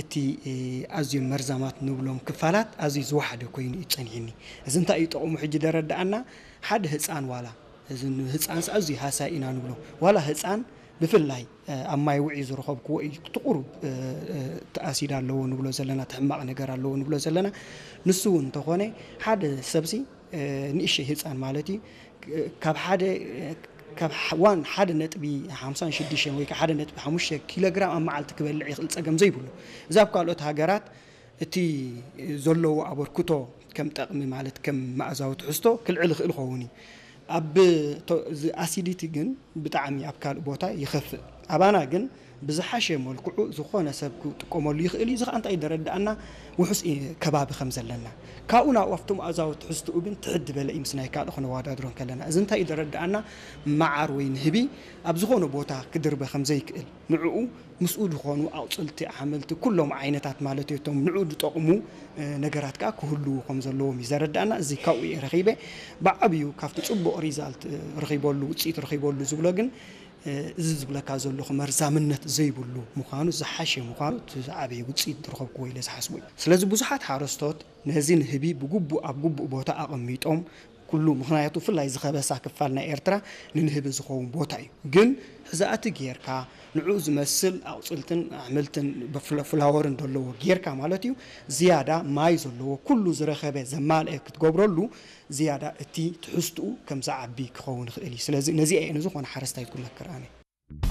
እቲ ኣዝዮም መርዛማት ንብሎም ክፋላት ኣዝዩ ዝወሓደ ኮይኑ እዩ ጸኒሕኒ። እዚ እንታይ እዩ ጠቕሙ ሕጂ ደረዳኣና? ሓደ ህጻን ዋላ እዚ ህጻንስ ኣዝዩ ሃሳይ ኢና ንብሎ። ዋላ ህጻን ብፍላይ ኣብ ማይ ውዒ ዝረኸብክዎ እዩ። እቲ ቁሩብ እቲ ኣሲድ ኣለዎ ንብሎ ዘለና፣ እቲ ሕማቕ ነገር ኣለዎ ንብሎ ዘለና። ንሱ እውን እንተኾነ ሓደ ሰብሲ ንእሽተይ ህጻን ማለት እዩ ካብ ሓደ ካብ ዋን ሓደ ነጥቢ ሓምሳን ሽዱሽተን ወይ ሓደ ነጥቢ ሓሙሽተ ኪሎግራም ኣብ መዓልቲ ክበልዕ ይኽእል ጸገም ዘይብሉ። እዚ ኣብ ካልኦት ሃገራት እቲ ዘለዎ ኣበርክቶ ከም ጠቕሚ ማለት ከም መኣዛዊ ትሕዝቶ ክልዕል ይኽእል ይኸውን እዩ። ኣብ ኣሲዲቲ ግን ብጣዕሚ ኣብ ካልእ ቦታ ይኸፍእ። ኣባና ግን ብዝሓሸ መልክዑ ዝኾነ ሰብ ክጥቀመሉ ይኽእል እዩ። እዚ ከዓ እንታይ ደረዳኣና ውሑስ ከባቢ ከም ዘለና ካብኡ ናብኡ ኣብቲ መኣዛዊ ትሕዝትኡ ግን ትሕት ዝበለ እዩ ምስ ናይ ካልእ ክነወዳድሮ እንከለና። እዚ እንታይ ደረዳኣና መዓር ወይ ንህቢ ኣብ ዝኾነ ቦታ ክድርበ ከም ዘይክእል ንዕኡ ምስኡ ዝኾኑ ኣቑፅልቲ፣ ኣሕምልቲ፣ ኩሎም ዓይነታት ማለት እዩ፣ እቶም ንዕኡ ዝጠቕሙ ነገራት ከዓ ክህልዉ ከም ዘለዎም እዩ ዘረዳእና። እዚ ካብኡ እየ ረኺበ። ብዓብዩ ካብቲ ፅቡቕ ሪዛልት ረኺበሉ፣ ውፅኢት ረኺበሉ ዝብሎ ግን እዚ ዝብለካ ዘለኹ መርዛምነት ዘይብሉ ምዃኑ ዝሓሸ ምዃኑ እቲ ዝዓበየ ውፅኢት ዝረኸብክዎ ኢለ ዝሓስቦ እዩ። ስለዚ ብዙሓት ሓረስቶት ነዚ ንህቢ ብግቡእ ኣብ ግቡእ ቦታ ኣቐሚጦም ኩሉ ምኽንያቱ ብፍላይ ዝኸበሳ ክፋል ናይ ኤርትራ ንንህቢ ዝኸውን ቦታ እዩ። ግን ሕዛእቲ ጌርካ ንዕኡ ዝመስል ኣቑፅልትን ኣሕምልትን ፍላወርን ዘለዎ ጌርካ ማለት እዩ ዝያዳ ማይ ዘለዎ ኩሉ ዝረኸበ ዘማልአ ክትገብረሉ ዝያዳ እቲ ትሕዝትኡ ከም ዝዓቢ ክኸውን ይኽእል እዩ። ስለዚ ነዚኣ እየ ንዝኾነ ሓረስታይ ዝምክር ኣነ።